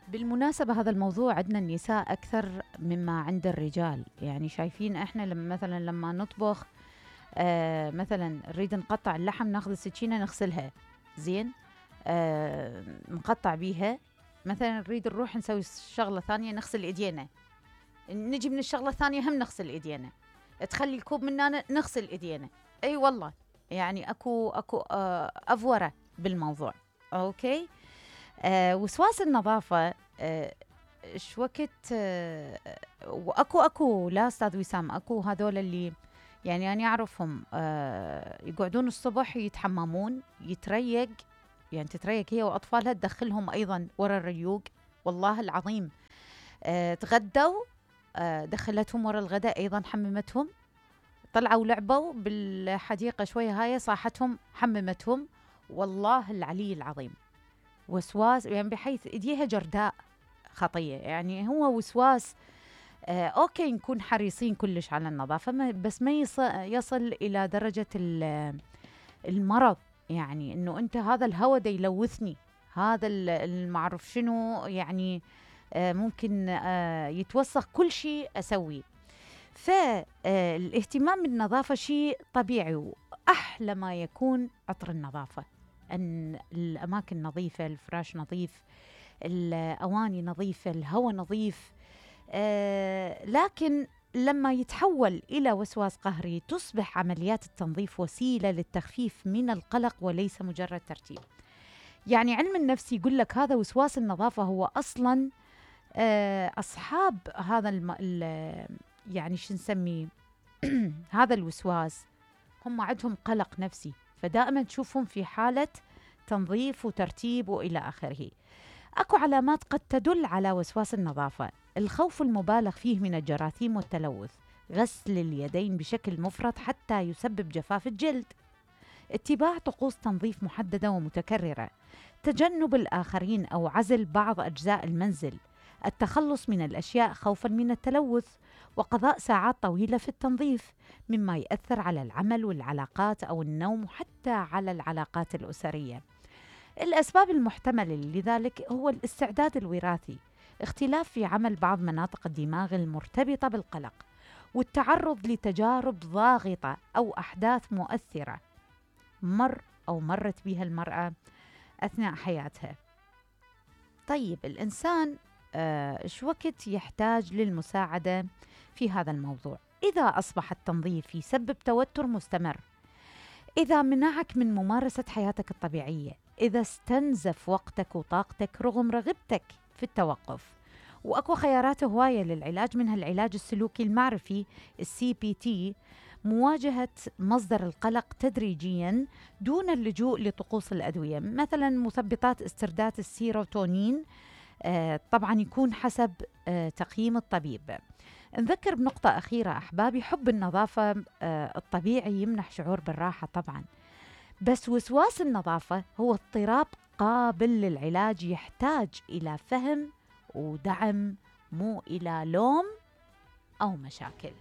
بالمناسبة هذا الموضوع عندنا النساء أكثر مما عند الرجال. يعني شايفين إحنا لما نطبخ مثلا نريد نقطع اللحم، ناخذ السكينة نغسلها زين، نقطع بيها. مثلا نريد نروح نسوي شغلة ثانية نغسل إيدينا، نجي من الشغلة الثانية هم نغسل إيدينا، تخلي الكوب مننا نغسل إيدينا. أي والله يعني أكو أفورة بالموضوع. أوكي. وسواس النظافة ايش وقت واكو لا استاذ وسام، اكو هذول اللي يعني انا اعرفهم يقعدون الصبح يتحممون، يتريق، يعني تتريق هي واطفالها، تدخلهم ايضا ورا الريوق والله العظيم. تغدوا دخلتهم ورا الغداء ايضا، حممتهم، طلعوا لعبوا بالحديقة شوية، هاي صاحتهم حممتهم، والله العلي العظيم. وسواس يعني بحيث ايديها جرداء خطية. يعني هو وسواس. اوكي نكون حريصين كلش على النظافة، بس ما يصل الى درجة المرض. يعني انه انت هذا الهوى دا يلوثني، هذا المعرف شنو، يعني ممكن يتوسخ كل شيء اسويه. فالاهتمام بالنظافة شيء طبيعي، واحلى ما يكون عطر النظافة، أن الأماكن نظيفة، الفراش نظيف، الأواني نظيفة، الهواء نظيف. لكن لما يتحول إلى وسواس قهري تصبح عمليات التنظيف وسيلة للتخفيف من القلق وليس مجرد ترتيب. يعني علم النفس يقول لك هذا وسواس النظافة هو أصلا أصحاب هذا يعني شو نسميه هذا الوسواس هم عندهم قلق نفسي، فدائما تشوفهم في حالة تنظيف وترتيب وإلى آخره. أكو علامات قد تدل على وسواس النظافة: الخوف المبالغ فيه من الجراثيم والتلوث، غسل اليدين بشكل مفرط حتى يسبب جفاف الجلد، اتباع طقوس تنظيف محددة ومتكررة، تجنب الآخرين أو عزل بعض أجزاء المنزل، التخلص من الأشياء خوفا من التلوث، وقضاء ساعات طويلة في التنظيف، مما يؤثر على العمل والعلاقات أو النوم وحتى على العلاقات الأسرية. الأسباب المحتملة لذلك هو الاستعداد الوراثي، اختلاف في عمل بعض مناطق الدماغ المرتبطة بالقلق، والتعرض لتجارب ضاغطة أو أحداث مؤثرة مرت بها المرأة أثناء حياتها. طيب الإنسان إيش وقت يحتاج للمساعدة في هذا الموضوع؟ إذا أصبح التنظيف يسبب توتر مستمر، إذا منعك من ممارسة حياتك الطبيعية، إذا استنزف وقتك وطاقتك رغم رغبتك في التوقف. وأكو خيارات هواية للعلاج، منها العلاج السلوكي المعرفي CBT، مواجهة مصدر القلق تدريجيا دون اللجوء لطقوس الأدوية، مثلا مثبطات استرداد السيروتونين، طبعا يكون حسب تقييم الطبيب. نذكر بنقطة أخيرة أحبابي: حب النظافة الطبيعي يمنح شعور بالراحة طبعا، بس وسواس النظافة هو اضطراب قابل للعلاج، يحتاج إلى فهم ودعم، مو إلى لوم أو مشاكل.